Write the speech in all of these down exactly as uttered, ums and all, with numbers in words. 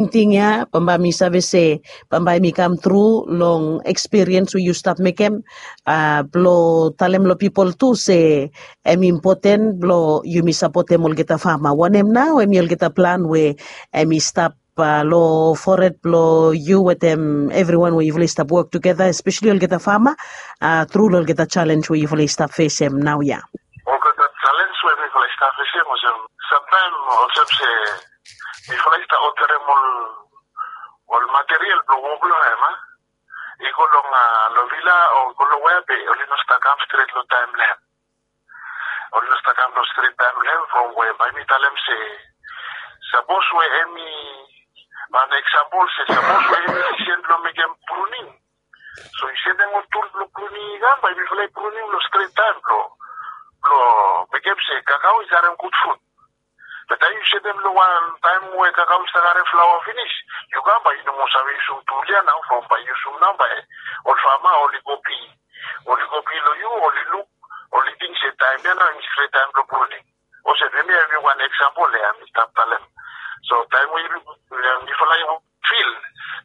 Tingting ya bambae mi save se bambae mi kam tru long ekspiriens we yu stap mekem, blong talem long pipol tu se em impoten blong yumi sapotem olgeta fama. Wanem nao em i olgeta plan we em i stap long fored blong yu wetem evriwan we yufala i stap wok tugeta, espeseli olgeta fama, tru long olgeta jalenj we yufala i stap fesem naoia? Olgeta jalenj we mifala i stap fesem olsem, samtaem olsem se mifala i stap oderem ol material blong wok long hem, a i go long long vila o i go long wea be oli no stap kam stret long taem blong hem. Oli no stap kam long stret taem blong hem from we bae mi talem se sapos we em i, wan eksampol se sapos we em i sisen blong mekem pruning. So yu setem ol tul blong pruning i kam bae mifala i pruning long stret taem blong blong mekem se kakao i karem gud fut. Be taem yu setem long wan taem we kakao i stap karem flaoa finis, yu kam bae yu no moa save yusum tul ya nao from bae yusum nao bae ol fama oli go pi oli go pi long yu oli luk oli ting se taem ya nao em i stret taem blong pruning. Olsem hemia em i wan eksampol ya mi stap talem. So taem we mifala i fil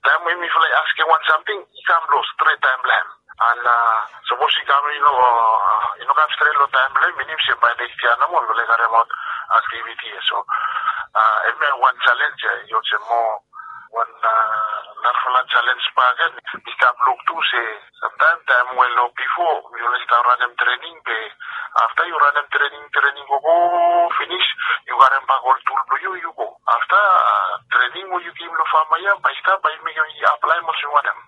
taem we mifala i askem wan samting i kam long stret taem blong hem. An sapos i kam i no kam stret long taem blong hem minim se bae nekstia nomo mifala i karemaot aktiviti ya. So hemia wan jalenj ya i olsem moa wan narafala jalenj bakegen. Mi stap luk tu se samtaem taem we long bifo mifala i stap ranem trening be afta yu ranem trening trening gogo finis yu karem bak ol tul blong yu yu go. Afta trening we yu givim long fama ya bae i stap bae i mekem i aplaem olsem wanem.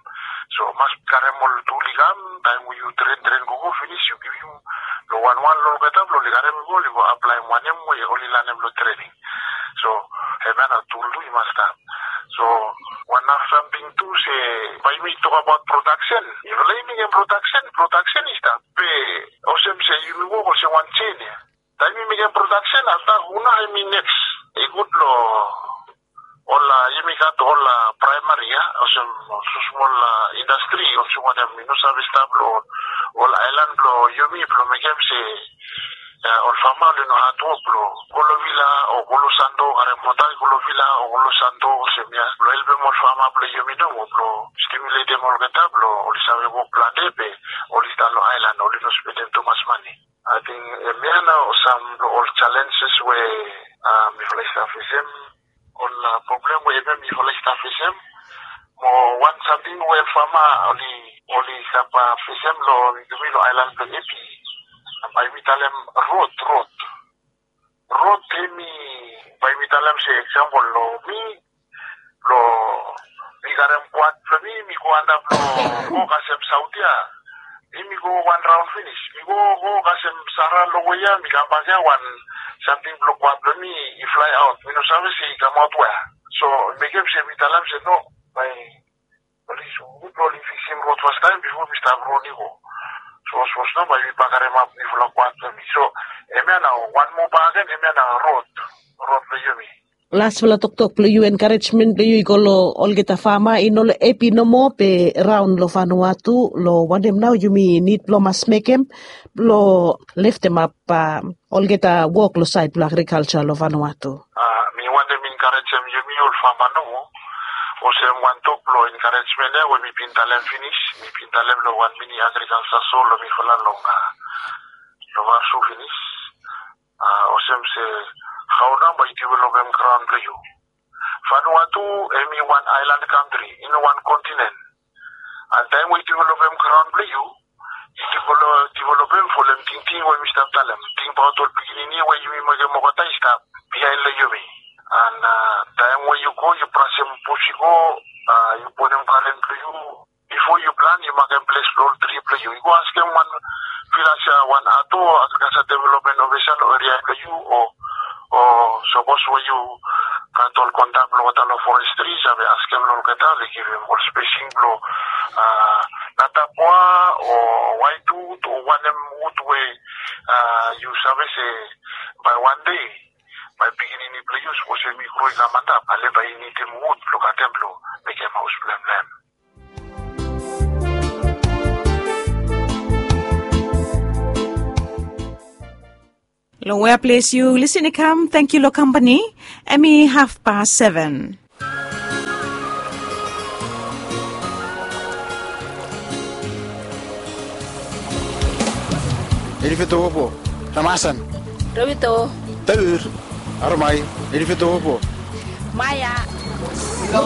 So mas karem ol tul i kam taem we yu tren tren gogo finis yu givim long wanwan long olgeta blong oli karem i go oli go aplaem wanem we oli lanem long trening. So hemia nao tul tu i mas stap. So wan nara samting tu se bae yumi tokabaot prodaksen. Mifala i mekem prodaksen prodaksen i stap be olsem se yumi wok olsem wan sen ya. Taem yumi mekem prodaksen afta huna em i neks? I gud long ol yumi gat ol praemari ya olsem smosmol indastri olsem wanem i no save stap long ol aelan blong yumi blong mekem se ol fama oli no hatwok blong go long vila o go long sando karem mota i go long vila o go long sando olsem ya blong helpem ol fama blong yumi nomo blong stimuletem olgeta blong oli save wok plante be oli stap long aelan oli no spendem tumas mane. Ating hemia nao sam blong ol jalenjes we mifala i stap fesem. Ol problem we hemia mifala i stap fesem mo wan samting we fama oli oli stap fesem long yumi long aelan blong epi. Bae mi talem rod rod rod hemi bae mi talem se eksampol long mi blong mi karem kwat blong mi mi go antap long go kasem saut ya. Mi mi go wan raon finis mi go go kasem sara long we ya mi kambak ya wan samting blong kwat blong mi i flae aot mi no save se i kamaot wea. So mekem se mi talem se no bae oli sukut blong oli fiksim rod fastaem bifo mi stap rod i go. So sapos no bae mi bakaremap mifala kwat blong mi so hemia nao wan moa baken hemia nao rod rod blong yumi. Lasfala toktok blong yu enkarejmen blong yu i go long olgeta fama i no long epi nomo be raon long fanua tu long wanem nao yumi nid blong mas mekem blong leftemap olgeta wok long saed blong agrikalja long fanua tu. Mi wantem enkarejem yumi ol fama nomo olsem wan tok blong enkarejmen ya we mi bin talem finis mi bin talem long wan mini agrikalja so long mifala long long vasu finis. Olsem se hao nao bae yu developem graon blong yu? Vanuatu em i wan aelan kantri i no wan kontinen. An taem we yu developem graon blong yu yu developem folem tingting we mi stap talem tingbaot ol pikinini we yumi mekem olgeta i stap biaen long yumi. An taem we yu go yu brasem bus i go yu bonem garen blong yu bifo yu plan yu makem ples blong ol tri blong yu i go askem wan vilas ya wan ato agrikalsa developmen ofisa long eria blong yu o o sapos we yu gat ol kontak blong olgeta long forestri save askem long olgeta oli givim ol spesing blong natapua o waet wud o wanem wud we yu save se bae wan dei bae pikinini blong yu sapos em i gro i kam antap ale bae i nidim wud blong katem blong mekem haos blong em long em. Long wea ples yu lisin i kam tangkiu long kampani. Em i hafpas seven. Elifeto opo. Ramasan. Robito. Taur. Aromai. Elifeto opo. Maya.